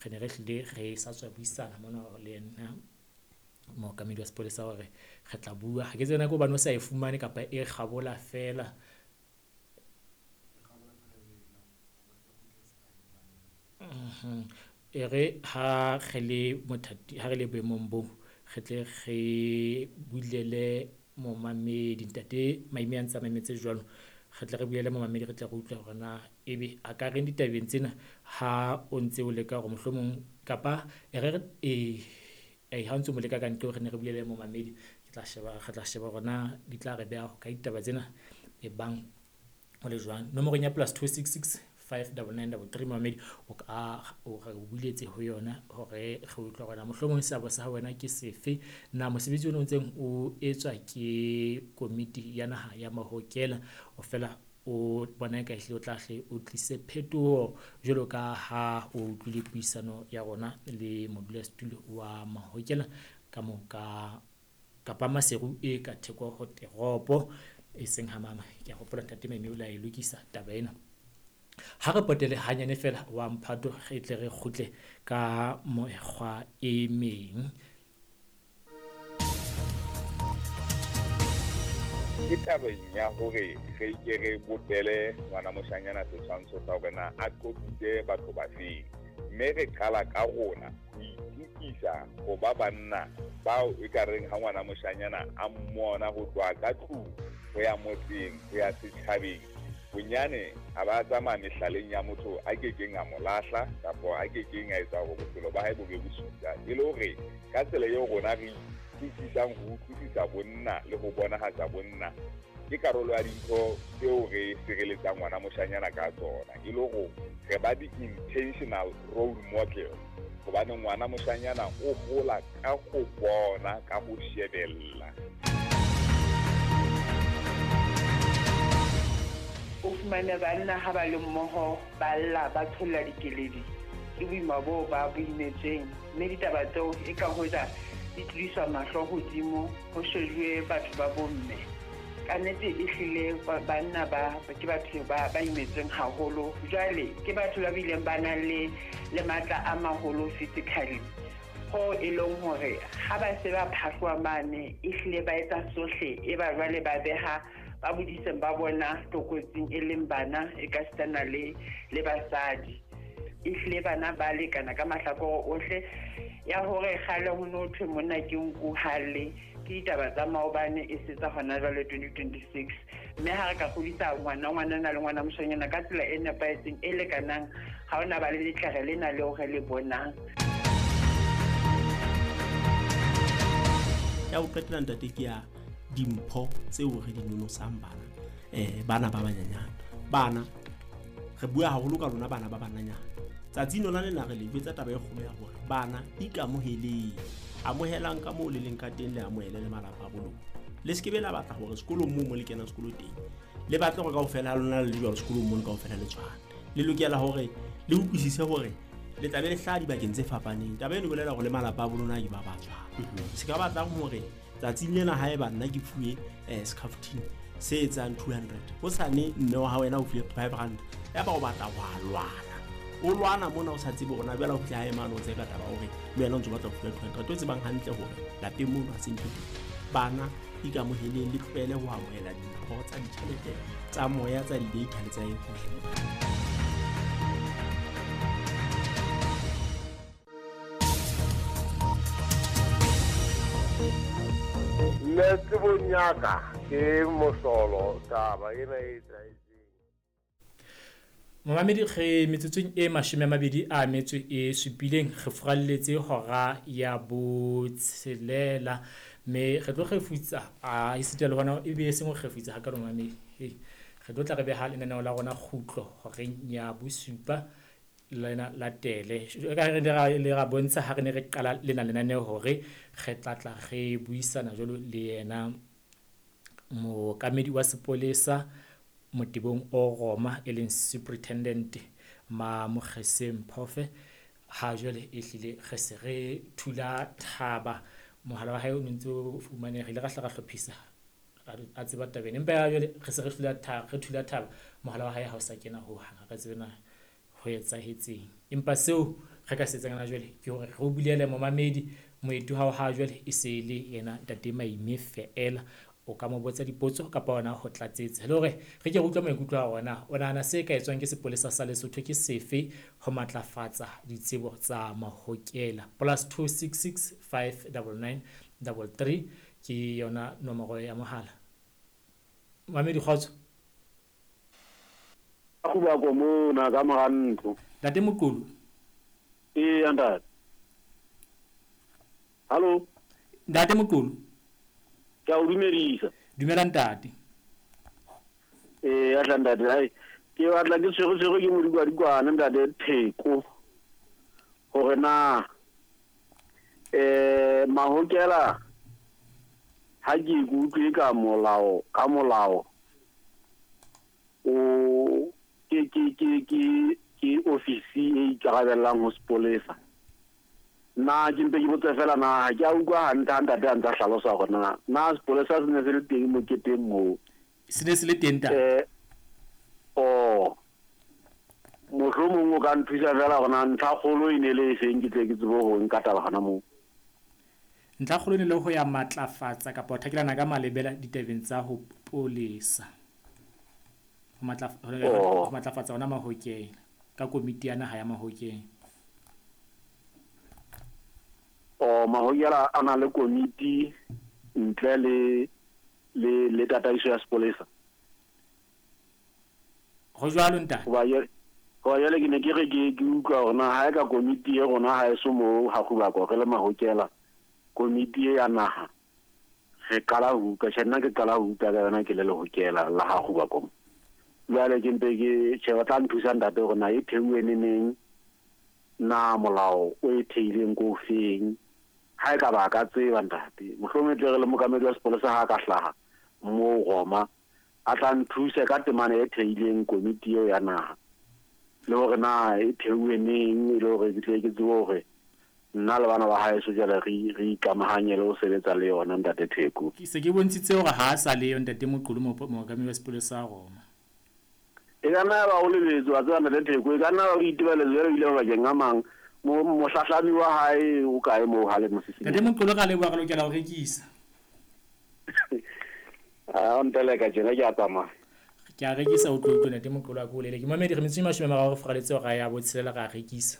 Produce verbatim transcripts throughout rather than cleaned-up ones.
Re ne re hlile re sa tswa buisana mona le yena mookamedi wa sepolesa hore re tla bua. Ha ke tsebe na ke hobane o sa e fumane kapa e kgabola feela. Mhm. E re ha re le mothati, ha re le boemong boo, re tle re bulele momamedi ntate Maime a ntse a mametse jwalo. Re tle re bulele momamedi, re tle re utlwe hore na ebe a ka reng ditabeng tsena ha o ntse o leka hore mohlomong kapa e re re e ha o ntso mo leka ka nqeo, re ne re bulele momamedi. Ke tla sheba, re tla sheba hore na di tla re beha hokae ditaba tsena e bang ho le jwang. Nomorong ya plus two six six five double nine double three momamedi o ka o re o buletse ho yona hore re utlwe hore na mohlomong seabo sa wena ke sefe. Na mosebetsi ona o ntseng o etswa ke komiti ya naha ya Mahokela o fela o bona eka ehlile o tla hle o tlise phetoho jwalo ka ha o utlwile puisano ya rona le modulasetulo wa Mahokela ka moo ka kapa Maseru e ka theko ho teropo e seng ha mama. Ke a hopola ntate Maime o la e lokisa taba ena. Ha re potele hanyane feela wa mphato re tle re kgutle ka mekgwa e meng. Ke tabeng ya hore re ke re bopele ngwana moshanyana setshwantsho sa hore na a qoqise batho ba feng, mme re qala ka rona ho itukisa ho ba banna bao e ka reng ha ngwana moshanyana a mmona ho tloha ka tlung ho ya motseng ho ya setjhabeng, bonyane a ba tsamaya mehlaleng ya motho a kekeng a mo lahla kapa a kekeng a etsa hore bophelo ba hae bo be bosula. E le hore ka tsela eo rona re utlwisisang ho utlwisisa bonna le ho bonahatsa bonna ke karolo ya dintho tseo re sireletsang ngwana moshanyana ka tsona, e le hore re ba di-intentional role model, hobane ngwana moshanyana o hola ka ho bona, ka ho shebella. O fumane banna ha ba le mmoho ba lla, ba tsholla dikeledi ke boima boo ba bo imetsweng, mme ditaba tseo e ka hoja di tlodiswa mahlo hodimo ho shejuwe batho ba bomme. Ka nnete e hlile banna ba ke batho ba ba imetsweng haholo. Jwale ke batho ba bileng ba nang le le matla a maholo physically, ho e leng hore ha ba se ba phahloha mane e hlile ba etsa sohle, e ba jwale ba beha ba bodiseng ba bona tlokotsing e leng bana e ka sitana le le basadi. E hlile bana ba lekana ka mahlakore ohle. Ya hore kgale ho no thwe monna ke nku halle, ke ditaba tsa maobane e se tsa hona jwale twenty twenty-six. Mme ha re ka kgodisa ngwana, ngwanana le ngwana moshanyana ka tsela e nepahetseng e lekanang, ha hona ba le letlere lena leo re le bonang. Ya ho qetela ntate ke ya dimpho tseo re di nonosang bana, eh bana ba banyenyane. Bana re bua haholo ka lona bana ba bananyana. Tsatsi lona lena re le jwetsa taba e kgolo ya hore bana ikamoheleng, amohelang ka moo le leng ka teng, le amohele le malapa a bo lona. Le se ke be la batla hore sekolong moo mo le kenang sekolo teng le batle hore kaofela ha lona le le jwalo sekolong mono kaofela le tshwane. Le lokela hore le utlwisise hore le tla be le hlaha dibakeng tse fapaneng. Taba eno e bolela hore le malapa a bo lona ke ba ba tshwana. Se ka batlang hore tsatsing lena haeba nna ke fuwe eh scaftine se etsang two hundred, hosane mme wa hao wena o fuwe five rand, ya ba o batla wa lwana, o lwana mona o sa tsebe hore na jwale o fihla hae mane o tseka taba hore le wena o ntso batla ho fuwa two hundred, o tsebang hantle hore lapeng mono ha se ntho teng. Bana ikamoheleng, le tlohele ho amohela dimpho tsa ditjhelete tsa moya, tsa di-data le tsa eng hohle. Nna tsebong ya ka ke mohlolo taba ena e etsahetseng. Momamedi, re metsotsong e mashome a mabedi a metso e supileng re furalletse hora ya botshelela, mme re tlo kgefutsa a esita le hona ebe e seng ho kgefutsa hakalo momamedi. Hei, re tlo tla re beha lenaneo la rona kgutlo horeng ya bosupa lena latele. Ka re le ra bontsha ha re ne re qala lena lenaneo hore re tla tla re buisana jwalo le yena mookamedi wa sepolesa motebong o Roma e leng Superintendent Mamokgeseng Phofe. Ha jwale e hlile re se re thula thaba, mohala wa hae o ntse o fumaneha, re ile ra hla ra hlophisa a tseba tabeng, empa ya jwale re se re thula thaba, re thula thaba mohala wa hae ha o sa kena ho hang, ha re tsebe na ho etsahetseng. Empa seo Re ka se etsang hona jwale ke hore re o bulele momamedi moeti hao ha jwale e se le yena ntate Maime feela. O ka mo botsa dipotso kapa ona ho tlatsetsa le hore re ke re utlwe maikutlo a ona. O nahana se ka etswang ke sepolesa sa Lesotho ke sefe ho matlafatsa ditsebo tsa mahokela? Plus two six six five nine nine double three ke yona nomoro ya mohala. Mamedi kgotso. Go mona ka mora ntlo. Ntate Moqulu. Ee ntate. Hallo. Ntate Moqulu. Ke a o dumedisa. Dumela ntate. Ee atla ntate, hai ke batla ke tshwere tshwere ke modikwadikwane ntate Theko. Hore na eh mahokela ha ke ikutlwe ka molao ka molao o ke ke ke ke ke ofisi e ikarabellang ho sepolesa. Na ke mpe ke botse fela na ke a utlwa hantle ha ntate a ntse a hlalosa hore na na sepolesa se ne se le teng moketeng moo. Se ne se le teng ntate. Eh oh mohlomong o ka nthusa fela hore na ntlha kgolo e ne le e feng ke tle ke tsebe ho nka taba hona moo. Ntlha kgolo ne le ho ya matlafatsa kapa ho thakelana ka malebela ditabeng tsa ho polesa. Ho matlafatsa matlafatsa ona mahokeng ka komiti ya naha ya mahokeng. O mahokela a na le komiti ntle le le le tataiso ya sepolesa. Ho jwalo ntate. Hoba ho jwale ke ne ke re ke ke utlwa hore na ha e ka komiti e rona ha e so mo ha go re le mahokela komiti e ya naha re qala ho utlwa tjhe nna ke qala ho utlwa ka yona ke le lehokela la ha go ba. Jwale ke mpe ke tjhe ba tla nthusa ntate hore na e theuwe neneng, na molao o e theileng ko feng. Ha e ka ba ka tseba ntate mohlomong tle re le mokamedi wa sepolesa ha ka hlaha moo Roma a tla nthuse ka temana e theileng komiti eo ya naha le hore na e theuwe neng e le hore ke tle ke tsebe hore nna le bana ba haeso jwale re re ikamahanye le ho sebetsa le yona ntate Theko. Ke se ke bontshitse hore ha a sa le yo ntate Moqulu mookamedi wa sepolesa Roma. E ka nna ba o lebetse wa tseba ntate Theko, e ka nna ba o itebaletse jwale o ile mabakeng a mang. Mohlahlami wa hae o kae moo ha le mosising? Ntate Moqulu ka leboha, re lokela ho rekisa. A nteleka tjena ke a tsamaya. Ke a rekisa o tlo utlwa ntate Moqulu a ko bolele. Ke mamedi re metsotso e mashome a mararo re fraletse hore ya botshelela ra rekisa.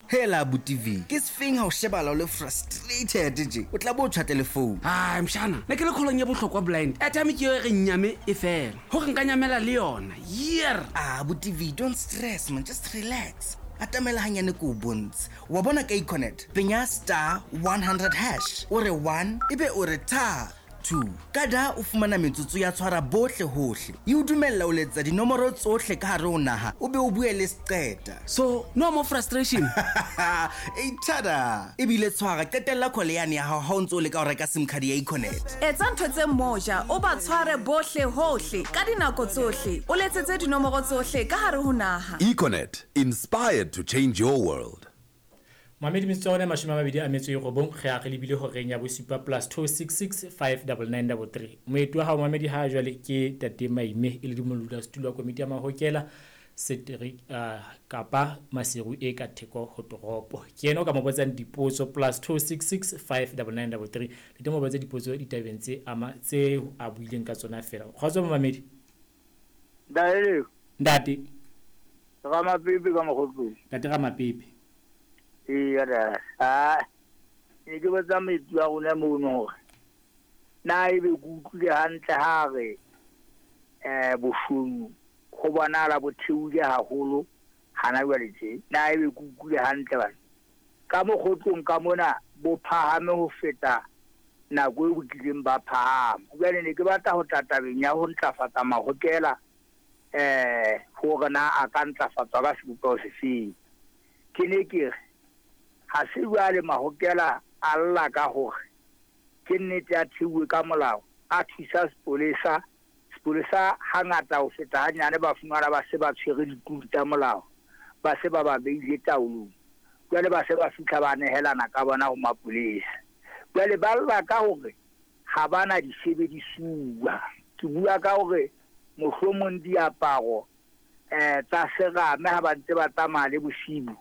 Hela abuti V, ke sefeng ha o shebala o le frustrated je. O tla bo tshwa telephone. Ai mshana, ne ke le kholong ya bohlokwa blind. Airtime ke yo re nnyame e fela. Hore nka nyamela le yona. Year. Ah abuti V, don't stress man, just relax. Atamela hanyane ko bontshe. Wa bona ka Econet, penya star one hundred hash. O re one ebe o re ta two. Kada o fumana metsotso ya tshwara bohle hohle. E o dumella o letsa dinomoro tsohle ka hare ho naha, o be o bue le seqeta. So, no more frustration. E tada. Ebile tshwara qetella call yane ya hao ha o ntso le ka o reka SIM card ya Econet. Etsa ntho tse moja, o ba tshware bohle hohle ka dinako tsohle. O letsetse dinomoro tsohle ka hare ho naha. Econet, inspired to change your world. Mamedi metsotso ya rona mashome a mabedi a metso e robong re a re lebile horeng ya bosupa plus two six six five nine nine three three. Moeti wa hao mamedi ha jwale ke tate Maime e le modulasetulo wa komiti ya mahokela setereke uh, kapa Maseru e ka theko ho toropo. Ke yena o ka mo botsang dipotso plus two six six five nine nine three three. Le teng mo botsa dipotso ditabeng tse ama tse a buileng ka tsona fela. Kgotso mamedi. Daele. Ntate. Ramapepe ka Mokgotlong. Ntate Ramapepe. Ee ah ne ke botsa moeti wa rona mono hore na ebe ke utlwile hantle ha re eh boshodu ho bonahala bo theohile haholo hana jwale tje. Na ebe ke utlwile hantle bana ka Mokgotlong ka mona bo phahame ho feta nako e botlileng ba phahama. Jwale ne ke batla ho tla tabeng ya ho ntlafatsa mahokela eh hore na a ka ntlafatswa ka sebopeho sefeng. Ke ne ke re ha se jwale mahokela a lla ka hore ke nnete a theuwe ka molao a thusa sepolesa. Sepolesa hangata ho feta hanyane ba fumana ba se ba tshwere dikutu tsa molao, ba se ba ba beile taolong. Jwale ba se ba fihla ba nehelana ka bona ho mapolesa. Jwale ba lla ka hore ha bana disebedisuwa. Ke bua ka hore mohlomong diaparo eh tsa serame ha ba ntse ba tsamaya le bosibu